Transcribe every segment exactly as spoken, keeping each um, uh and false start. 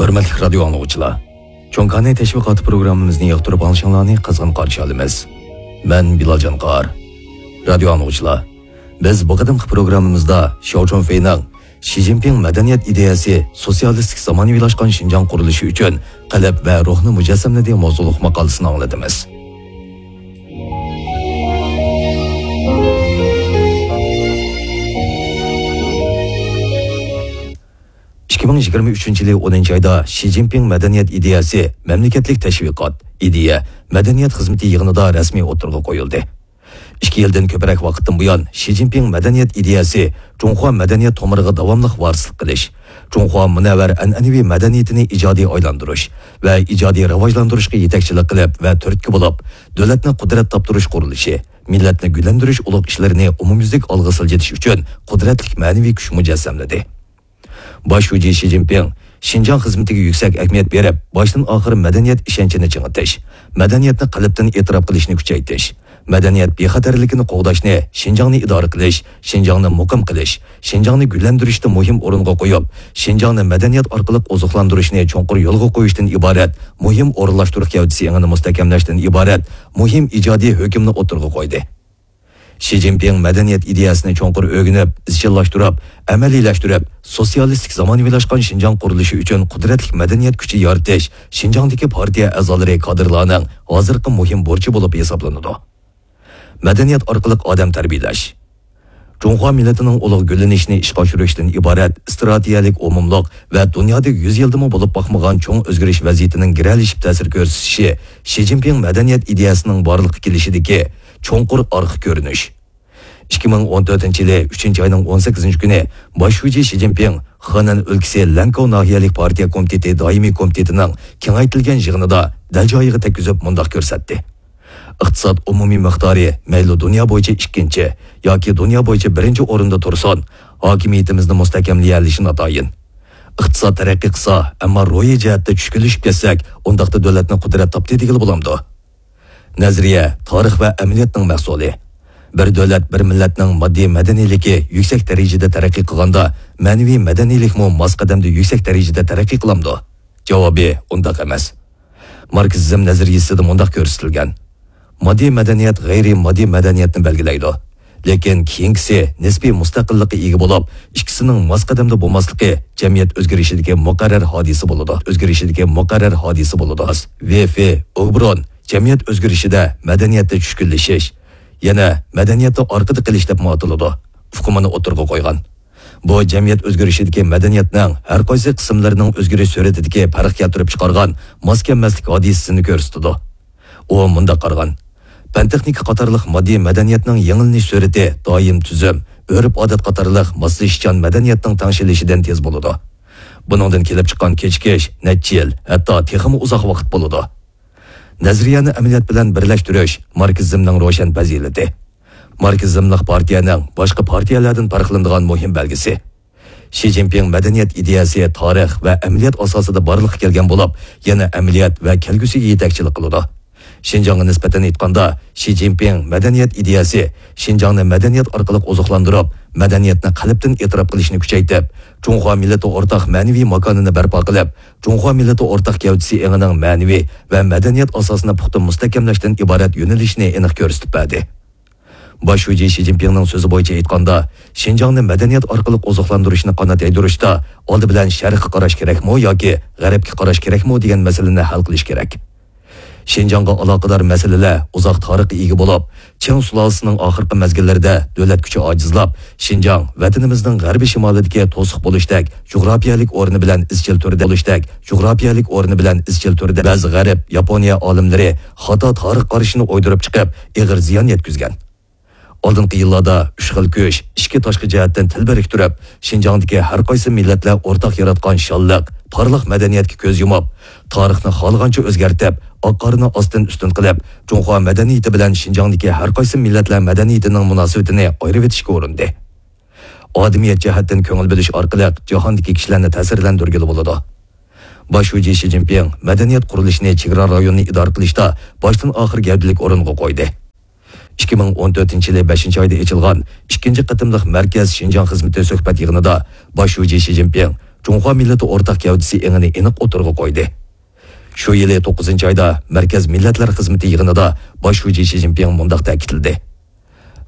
ھۆرمەتلىك رادىيو ئاڭلىغۇچىلار، چوڭكانى تەشۋىقاتى پروگراممىمىزنى ياقتۇرۇپ ئاڭلىشىڭلارنى قىزغىن قارشى ئالىمىز. مەن بىلال جانقار. رادىيو ئاڭلىغۇچىلار، بىز بۇ قېتىمقى پروگراممىمىزدا شياۋ چۈنفېينىڭ شى جىنپىڭ مەدەنىيەت ئىدىيەسى سوتسىيالىستىك زامانىۋىلاشقان شىنجاڭ قۇرۇلۇشى ئۈچۈن قەلب ۋە روھنى مۇجەسسەملىدى ماۋزۇلۇق ماقالىسىنى ئاڭلىتىمىز. ئىككى مىڭ يىگىرمە ئۈچىنچى يىلى ئونىنچى ئايدا شى جىنپىڭ مەدەنىيەت ئىدىيەسى مەملىكەتلىك تەشۋىقات، ئىدىيە، مەدەنىيەت خىزمىتى يىغىنىدا رەسمىي ئوتتۇرىغا قويۇلدى. ئىككى يىلدىن كۆپرەك ۋاقىتتىن بۇيان، شى جىنپىڭ مەدەنىيەت ئىدىيەسى جۇڭخۇا مەدەنىيەت تومۇرىغا داۋاملىق ۋارىسلىق قىلىش، جۇڭخۇا مۇنەۋۋەر ئەنئەنىۋى مەدەنىيىتىنى ئىجادىي ئايلاندۇرۇش ۋە ئىجادىي راۋاجلاندۇرۇشقا يېتەكچىلىك قىلىپ ۋە تۈرتكە بولۇپ، دۆلەتنى قۇدرەت تاپتۇرۇش قۇرۇلۇشى، مىللەتنى گۈللەندۈرۈش ئۇلۇغ ئىشلىرىنى ئومۇميۈزلۈك ئالغا سىلجىتىش ئۈچۈن قۇدرەتلىك مەنىۋى كۈچ مۇجەسسەملىدى. باش شۇجى شى جىنپىڭ شىنجاڭ خىزمىتىگە يۈكسەك ئەھمىيەت بېرىپ، باشتىن ئاخىر مەدەنىيەت ئىشەنچىنى چىڭىتىش، مەدەنىيەتنى قەلبتىن ئېتىراپ قىلىشنى كۈچەيتىش، مەدەنىيەت بىخەتەرلىكىنى قوغداشنى، شىنجاڭنى ئىدارە قىلىش، شىنجاڭنى مۇقىم قىلىش، شىنجاڭنى گۈللەندۈرۈشتە مۇھىم ئورۇنغا قويۇپ، شىنجاڭنى مەدەنىيەت ئارقىلىق ئوزۇقلاندۇرۇشنى چوڭقۇر يولغا قويۇشتىن ئىبارەت مۇھىم ئورۇنلاشتۇرۇش گەۋدىسى ئېڭىنى مۇستەھكەملەشتىن ئىبارەت مۇھىم ئىجادىي ھۆكۈمنى ئوتتۇرىغا قويدى. شى جىنپىڭ مەدەنىيەت ئىدىيەسىنى چوڭقۇر ئۆگىنىپ، ئىزچىللاشتۇرۇپ، ئەمەلىيلەشتۈرۈپ، سوتسىيالىستىك زامانىۋىلاشقان شىنجاڭ قۇرۇلۇشى ئۈچۈن قۇدرەتلىك مەدەنىيەت كۈچى يارىتىش شىنجاڭدىكى پارتىيە ئەزالىرى، كادىرلارنىڭ ھازىرقى مۇھىم بۇرچى بولۇپ ھېسابلىنىدۇ. مەدەنىيەت ئارقىلىق ئادەم تەربىيەلەش. جۇڭخۇا مىللىتىنىڭ ئۇلۇغ گۈللىنىشىنى ئىشقا ئاشۇرۇشتىن ئىبارەت ئىستراتېگىيەلىك ئومۇملۇق ۋە دۇنيادا يۈز يىلدىمۇ بولۇپ باقمىغان چوڭ ئۆزگىرىش ۋەزىيىتىنىڭ گىرەلىشىپ تەسىر كۆرسىتىشى شى جىنپىڭ مەدەنىيەت ئىدىيەسىنىڭ بارلىققا كېلىشىدىكى چوڭقۇر ئارقا كۆرۈنۈش. ئىككى مىڭ ئون تۆتىنچى يىلى ئۈچىنچى ئاينىڭ ئون سەككىزىنچى كۈنى باش شۇجى شى جىنپىڭ خېنەن ئۆلكىسى لەنكاۋ ناھىيەلىك پارتىيە كومىتېتى دائىمىي كومىتېتىنىڭ كېڭەيتىلگەن يىغىنىدا دەل جايىغا تەگكۈزۈپ مۇنداق كۆرسەتتى: ئىقتىساد ئومۇمىي مىقدارى مەيلى دۇنيا بويىچە ئىككىنچى ياكى دۇنيا بويىچە بىرىنچى ئورۇندا تۇرسۇن، ھاكىمىيىتىمىزنى مۇستەھكەملىيەلىشى ناتايىن. ئىقتىساد تەرەققىي قىلسا، ئەمما روھىي جەھەتتە چۈشكۈنلىشىپ كەتسەك، ئۇنداقتا دۆلەتنى قۇدرەت تاپتى دېگىلى بولامدۇ؟ نەزەرىيە تارىخ ۋە ئەمەلىيەتنىڭ مەھسۇلى. بىر دۆلەت، بىر مىللەتنىڭ ماددىي مەدەنىيلىكى يۈكسەك دەرىجىدە تەرەققىي قىلغاندا، مەنىۋى مەدەنىيلىكمۇ ماس قەدەمدە يۈكسەك دەرىجىدە تەرەققىي قىلامدۇ؟ جاۋابى ئۇنداق ئەمەس. ماركسىزم نەزەرىيىسىدە مۇنداق كۆرسىتىلگەن: ماددىي مەدەنىيەت غەيرىي ماددىي مەدەنىيەتنى بەلگىلەيدۇ. لېكىن كېيىنكىسى نىسپىي مۇستەقىللىققا ئىگە بولۇپ، ئىككىسىنىڭ ماس قەدەمدە بولماسلىقى جەمئىيەت ئۆزگىرىشىدىكى مۇقەررەر ھادىسە بولىدۇ. ئۆزگىرىشىدىكى مۇقەررەر ھادىسە بولىدۇ. ۋېفې ئوبرون جەمئىيەت ئۆزگىرىشىدە مەدەنىيەتتە چۈشكۈنلىشىش، يەنە مەدەنىيەتتە ئارقىدا قېلىش دەپمۇ ئاتىلىدۇ، ئۇقۇمىنى ئوتتۇرىغا قويغان. بۇ جەمئىيەت ئۆزگىرىشىدىكى مەدەنىيەتنىڭ ھەر قايسى قىسىملىرىنىڭ ئۆزگىرىش سۈرئىتىدىكى پەرق كەلتۈرۈپ چىقارغان ماس كەلمەسلىك ھادىسىسىنى كۆرسىتىدۇ. ئۇ مۇنداق قارىغان: پەن تېخنىكا قاتارلىق ماددىي مەدەنىيەتنىڭ يېڭىلىنىش سۈرئىتى دائىم تۈزۈم، ئۆرپ-ئادەت قاتارلىق ماسلىشىشچان مەدەنىيەتنىڭ تەڭشىلىشىدىن تېز بولىدۇ. بۇنىڭدىن كېلىپ چىققان كېچىكىش نەچچە يىل، ھەتتا تېخىمۇ ئۇزاق ۋاقىت بولىدۇ. نەزەرىيەنى ئەمەلىيەت بىلەن بىرلەشتۈرۈش ماركسىزمنىڭ روشەن پەزىلىتى. ماركسىزملىق پارتىيەنىڭ باشقا پارتىيەلەردىن پەرقلىنىدىغان مۇھىم بەلگىسى. شى جىنپىڭ مەدەنىيەت ئىدىيەسى تارىخ ۋە ئەمەلىيەت ئاساسىدا بارلىققا كەلگەن بولۇپ، يەنە ئەمەلىيەت ۋە كەلگۈسىگە يېتەكچىلىك قىلىدۇ. شىنجاڭغا نىسبەتەن ئېيتقاندا، شى جىنپىڭ مەدەنىيەت ئىدىيەسى شىنجاڭنى مەدەنىيەت ئارقىلىق ئوزۇقلاندۇرۇپ، مەدەنىيەتنى قەلبتىن ئېتىراپ قىلىشنى كۈچەيتىپ، جۇڭخۇا مىللىتى ئورتاق مەنىۋى ماكانىنى بەرپا قىلىپ، جۇڭخۇا مىللىتى ئورتاق گەۋدىسى ئېڭىنىڭ مەنىۋى ۋە مەدەنىيەت ئاساسىنى پۇختا مۇستەھكەملەشتىن ئىبارەت يۆنىلىشىنى ئېنىق كۆرسىتىپ بەردى. باش شۇجى شى جىنپىڭنىڭ سۆزى بويىچە ئېيتقاندا، شىنجاڭنى مەدەنىيەت ئارقىلىق ئوزۇقلاندۇرۇشنى قانات يايدۇرۇشتا ئالدى بىلەن شەرققە قاراش كېرەكمۇ ياكى غەربكە قاراش كېرەكمۇ دېگەن مەسىلىنى ھەل قىلىش كېرەك. شىنجاڭغا ئالاقىدار مەسىلىلەر ئۇزاق تارىخقا ئىگە بولۇپ، چىڭ سۇلالىسىنىڭ ئاخىرقى مەزگىللىرىدە دۆلەت كۈچى ئاجىزلاپ، شىنجاڭ ۋەتىنىمىزنىڭ غەربىي شىمالىدىكى توسۇق بولۇشتەك جۇغراپىيەلىك ئورنى بىلەن ئىزچىل تۈردە بولۇشتەك جۇغراپىيەلىك ئورنى بىلەن ئىزچىل تۈردە بەزى غەرب، ياپونىيە ئالىملىرى خاتا تارىخ قارىشىنى ئويدۇرۇپ چىقىپ، ئېغىر زىيان يەتكۈزگەن. ئالدىنقى يىللاردا ئۈچ خىل كۈچ ئىچكى تاشقى جەھەتتىن تەلپۈرۈپ تۇرۇپ، شىنجاڭدىكى ھەر قايسى مىللەتلەر ئورتاق ياراتقان شانلىق، پارلاق مەدەنىيەتكە كۆز يۇمۇپ، تارىخنى خالىغانچە ئۆزگەرتىپ، ئاق-قارىنى ئاستىن-ئۈستۈن قىلىپ، جۇڭخۇا مەدەنىيىتى بىلەن شىنجاڭدىكى ھەر قايسى مىللەتلەر مەدەنىيىتىنىڭ مۇناسىۋىتىنى ئايرىۋېتىشكە ئۇرۇندى. ئادىمىيەت جەھەتتىن كۆڭۈل بۆلۈش ئارقىلىق جاھاندىكى كىشىلەرنى تەسىرلەندۈرگىلى بولىدۇ. باش شۇجى شى جىنپىڭ مەدەنىيەت قۇرۇلۇشىنى چېگرا رايونىنى ئىدارە قىلىشتا باشتىن ئاخىر گەۋدىلىك ئورۇنغا قويدى. ئىككى مىڭ ئون تۆتىنچى يىلى بەشىنچى ئايدا ئېچىلغان ئىككىنچى قېتىملىق مەركەز شىنجاڭ خىزمىتى سۆھبەت يىغىنىدا باش شۇجى شى جىنپىڭ جۇڭخۇا مىللىتى ئورتاق گەۋدىسى ئېڭىنى ئېنىق ئوتتۇرىغا قويدى. شۇ يىلى توققۇزىنچى ئايدا مەركەز مىللەتلەر خىزمىتى يىغىنىدا باش شۇجى شى جىنپىڭ مۇنداق تەكىتلىدى: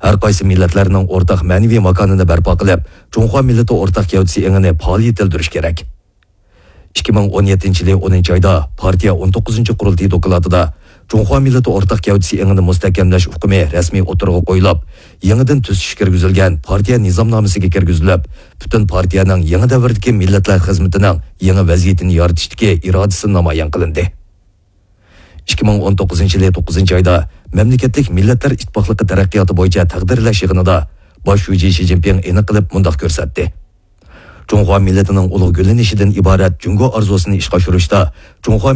ھەر قايسى مىللەتلەرنىڭ ئورتاق مەنىۋى ماكانىنى بەرپا قىلىپ، جۇڭخۇا مىللىتى ئورتاق گەۋدىسى ئېڭىنى پائال يېتىلدۈرۈش كېرەك. ئىككى مىڭ ئون يەتتىنچى يىلى ئونىنچى ئايدا پارتىيە ئون توققۇزىنچى قۇرۇلتىيى دوكلاتىدا جۇڭخۇا مىللىتى ئورتاق گەۋدىسى ئېڭىنى مۇستەھكەملەش ئۇقۇمى رەسمىي ئوتتۇرىغا قويۇلۇپ، يېڭىدىن تۈزىتىش كىرگۈزۈلگەن پارتىيە نىزامنامىسىگە كىرگۈزۈلۈپ، پۈتۈن پارتىيەنىڭ يېڭى دەۋردىكى مىللەتلەر خىزمىتىنىڭ يېڭى ۋەزىيىتىنى يارىتىشتىكى ئىرادىسى نامايان قىلىندى. ئىككى مىڭ ئون توققۇزىنچى يىلى توققۇزىنچى ئايدا مەملىكەتلىك مىللەتلەر ئىتتىپاقلىقى تەرەققىياتى بويىچە تەقدىرلەش يىغىنىدا باش شۇجى شى جىنپىڭ ئېنىق قىلىپ مۇنداق كۆرسەتتى: جۇڭخۇا مىللىتىنىڭ ئۇلۇغ گۈللىنىشىدىن ئىبارەت جۇڭگو ئارزۇسىنى ئىشقا ئاشۇرۇشتا جۇڭخۇا